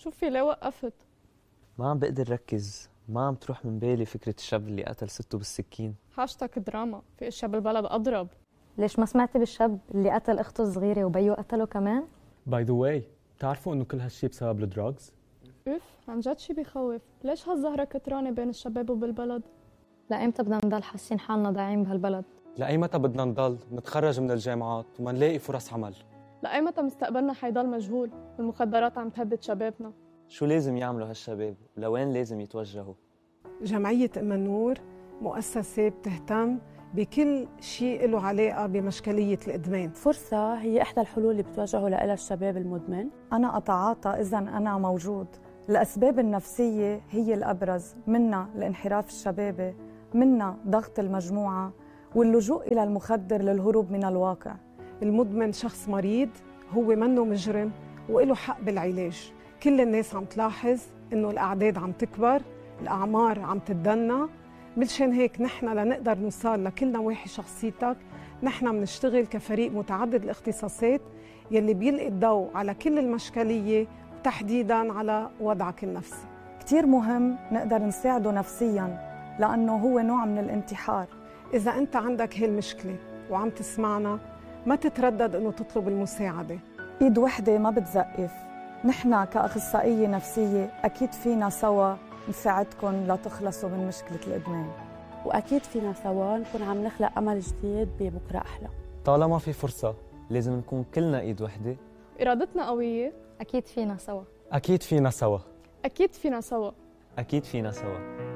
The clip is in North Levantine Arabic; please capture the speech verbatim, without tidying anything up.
شوفي ليه وقفت؟ ما عم بقدر ركز، ما عم تروح من بالي فكرة الشاب اللي قتل سته بالسكين. هاشتاج دراما، في اشياء بالبلد أضرب. ليش ما سمعتي بالشاب اللي قتل أخته الصغيرة وبيو قتله كمان؟ باي ذا واي، بتعرفوا إنه كل هالشي بسبب الدراجز؟ اوف، عن جد شي بيخوف. ليش هالزهرة كترانة بين الشباب وبالبلد؟ لأيمتى بدنا نضل حاسين حالنا ضايعين بهالبلد؟ لأي متى بدنا نضل نتخرج من الجامعات وما نلاقي فرص عمل؟ لأي متى مستقبلنا حيضل مجهول والمخدرات عم تهدد شبابنا؟ شو لازم يعملوا هالشباب؟ ولوين لازم يتوجهوا؟ جمعية أم النور مؤسسة بتهتم بكل شيء له علاقة بمشكلية الإدمان. فرصة هي إحدى الحلول اللي بتواجهه لها الشباب المدمن. أنا أتعاطى إذا أنا موجود. الأسباب النفسية هي الأبرز، منها الانحراف الشبابي، منها ضغط المجموعة واللجوء إلى المخدر للهروب من الواقع. المدمن شخص مريض، هو منه مجرم وإله حق بالعلاج. كل الناس عم تلاحظ إنه الأعداد عم تكبر، الأعمار عم تتدنى. مشان هيك نحن لنقدر نوصل لكل نواحي شخصيتك، نحن بنشتغل كفريق متعدد الاختصاصات يلي بيلقي الضوء على كل المشكلية وتحديداً على وضعك النفسي. كتير مهم نقدر نساعده نفسياً لأنه هو نوع من الانتحار. إذا أنت عندك هالمشكلة وعم تسمعنا، ما تتردد إنه تطلب المساعدة. إيد وحدة ما بتزقف. نحن كأخصائية نفسية أكيد فينا سوا نساعدكم لتخلصوا من مشكلة الإدمان، وأكيد فينا سوا نكون عم نخلق أمل جديد ببكرة أحلى. طالما في فرصة لازم نكون كلنا إيد وحدة. إرادتنا قوية. أكيد فينا سوا. أكيد فينا سوا. أكيد فينا سوا. أكيد فينا سوا.